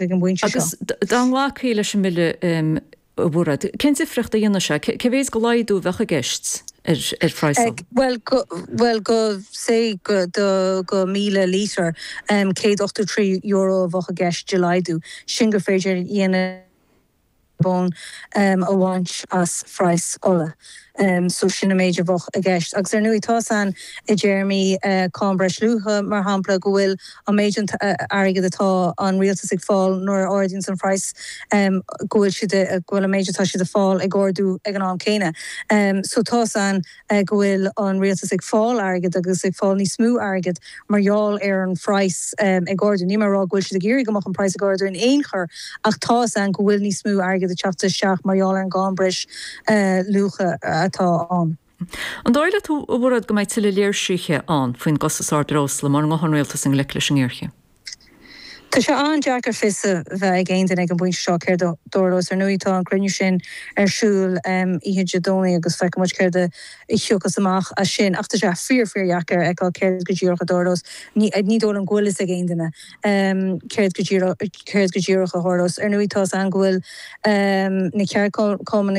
Ag an bpointe seo. Agus dá nglacfaí leis an mbille, a Mhairéad, cén difríocht a dhéanfadh sé? Cé mhéid de laghdú a bheadh i gceist ar phraghas? Bhuel, bhuel, go, say, go, do, go 1,000 lítear, €183 a bheadh i gceist de laghdú. Sin gur féidir a dhéanamh bonn a bhaint as phraghas ola. So sin an méid a bheadh i gceist. Agus ar ndóigh tá 's againn i dtéarmaí cáin breisluacha, mar shampla, go bhfuil an méid airgid atá an rialtas ag fáil nuair a ardaíonns an phraghas, go bhfuil siad, go bhfuil an méid atá siad ag fáil ag ardú ag an am céanna. So tá 's againn go bhfuil an rialtas ag fáil airgid agus ag fáil níos mó airgid mar gheall ar an phraghas ag ardú. Níl mé ag rá go bhfuil siad ag iarraidh go mbeadh an praghas ag ardú in aon chor ach tá 'fhios againn go bhfuil níos mó airgid ag teacht isteach mar gheall ar an gcáin breis luacha atá ann. An dóigh leat, a Mhairéad, go mbeidh tuilleadh léirsithe ann faoin gcostas ard breosla mura ngabhann an rialtas i ngleic leis an ngéarchéim? Tá sé an-deacair fios a bheith ag aon duine ag an bpointe seo céard a tharlós. Ar ndóigh tá an cruinniú sin ar siúl oíche Dé Domhnaigh agus feicfidh muid céard a thiocfas amach as sin. Ach tá sé fíor fíor dheacair a fheiceáil céard go díreach a tharlós. Ní dóigh liom go bhfuil fhios ag aon duine céard go díreach céard go díreach a tharlós. Ar ndóigh tá 'fhios againn go bhfuil na ceardchumainn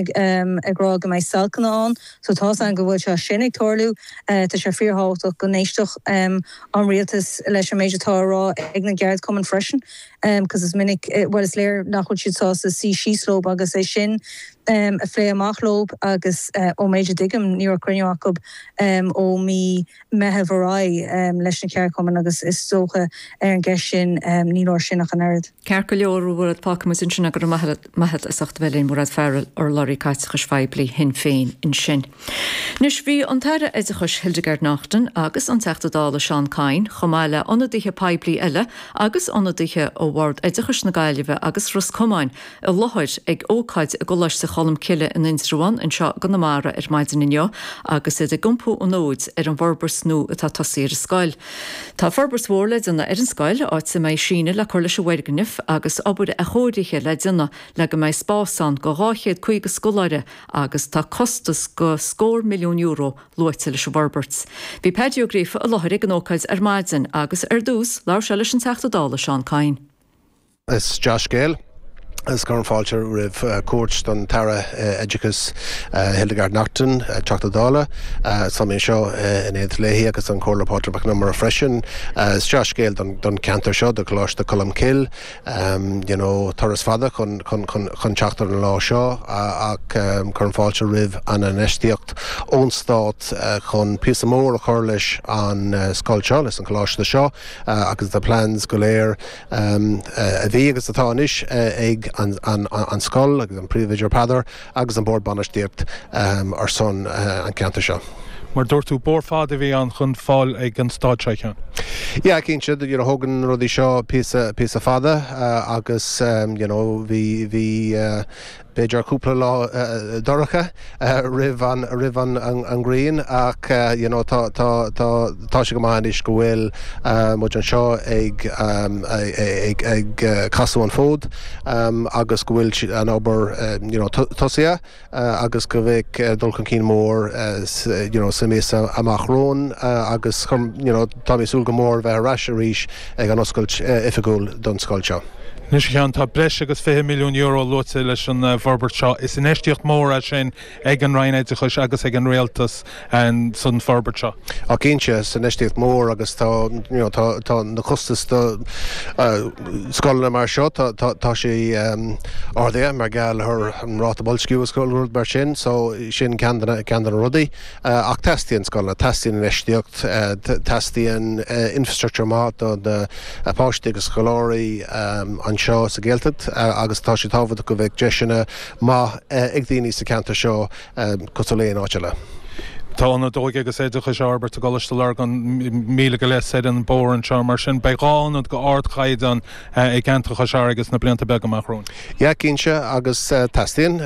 ag rá go mbeidh stailceanna ann so tá 'fhios againn go bhfuil sé sin ag tarlú. Tá sé fíor thábhachtach go n-éistfeadh an rialtas leis an méid atá á rá ag na gceardchumainn freisin cos is minic, bhuel is léir nach bhfuil siad sásta suí síos leo agus é sin a phlé amach leo agus ón méid a dtuigim ní raibh cruinniú acu ó mí Meitheamh ar aghaidh leis na ceardchumainn agus is dócha ar an gceist sin ní leor sin ach an oiread. Ceart go leor, a Mhairéad, fágfaidh muid ansin é go raibh maith agat as ucht a bheith linn, Mairéad Farrell, urlabhraí caiteachais phoiblí Shinn Féin ansin. Anois, bhí an tAire Oideachais Hildegarde Naughton agus an Teachta Dála Seán Kyne, chomh maith le ionadaithe poiblí eile agus ionadaithe ó Bhord Oideachais na Gaillimhe agus Ros Comáin i láthair ag ócáid i gColáiste Cholmcille in Indreabhán anseo i gConamara ar maidin inniu agus iad ag iompú an fhóid ar an bhforbairt nua atá tosaithe ar an scoil. Tá forbairt mhór le déanamh ar an scoil, áit a mbeidh síneadh le cur leis an bhfoirgneamh agus obair athchóirithe le déanamh le go mbeidh spás ann do 250 scoláire agus tá costas de scór milliún euro luaite leis an bhforbairt. Bhí Paddy Ó Gríofa i láthair ag an ócáid ar maidin agus ar dtús labhair sé leis an Teachta Dála Seán Kyne. Is dea-scéal agus cuirim fáilte roimh cuairt don tAire Oideachais Hildegarde Naughton, Teachta Dála. Tá mé anseo in éineacht léi agus an Comhairleoir Pádraig Mac Con Iomaire freisin. Is dea-scéal don cheantar seo, do Choláiste Cholmcille. You know, turas fada chun chun teacht ar an lá seo ach cuirim fáilte roimh an infheistíocht ón Stát chun píosa mór a chur leis an scoil seo, leis an choláiste seo agus na plans go léir a bhí agus atá anois ag an scoil agus an príomhoide Peadar agus an bord bainistíocht ar son an ceantar seo. Mar dúirt tú, bóthar fada a bhí ann chun fáil ag an staid seo, a Sheáin. Yeah, cinnte, you know, thógann na rudaí seo píosa, píosa fada agus you know, bhí, bhí b'fhéidir cúpla lá dorcha roimh an, roimh an, an ghrian ach you know, tá, tá, tá, tá sé go maith anois go bhfuil muid anseo ag, ag, ag casadh an fód agus go bhfuil an obair you know, tosaithe. agus go mbeidh dul chun cinn mór you know sa míosa amach romhainn agus you know tá mé ag súil go mór bheith ar ais arís ag an oscailt oifigiúil don scoil seo. Anois a Sheáin, tá breis agus €20 milliún luaite leis an bhforbairt seo. Is infheistíocht mhór é sin ag an Roinn Oideachais agus ag an Rialtas san forbairt seo. Á cinnte, is infheistíocht mhór agus tá you know tá tá na costais do scoileanna mar seo tá tá tá sé ardaithe mar gheall ar an ráta boilsciú agus rud mar sin so sin ceann de na ceann de na rudaí. Ach teastaíonn scoileanna, teastaíonn infheistíocht, teastaíonn infrastructure maith do na páistí agus scoláirí anseo sa Ghaeltacht agus tá sé tábhachtach go bheadh deiseanna maith ag daoine sa cheantar seo cosúil le aon áit eile. Tá ionad óige agus oideachais á fhorbairt i gColáiste Lurgan, míle go leith soir an bóthar anseo, mar sin beidh 2 ionad de ardchaighdeán i gceantar Chois Fharraige sna blianta beaga amach romhainn. Yeah, cinnte, agus teastaíonn,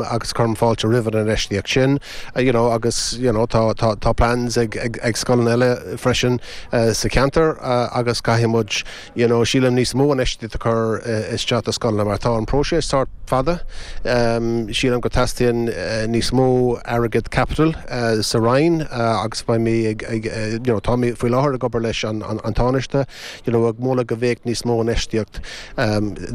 agus cuirim fáilte roimh an infheistíocht sin, you know, agus, you know, tá, tá, tá plans ag, ag, ag scoileanna eile freisin sa cheantar agus caithfidh muid, you know, sílim níos mó infheistíocht a chur isteach do scoileanna mar tá an próiseas sórt fada. Sílim go teastaíonn níos mó airgead caipitil. sa Roinn agus beidh mé ag, you know, tá mé faoi láthair ag obair leis an Tánaiste, you know, ag moladh go bheadh níos mó infheistíocht.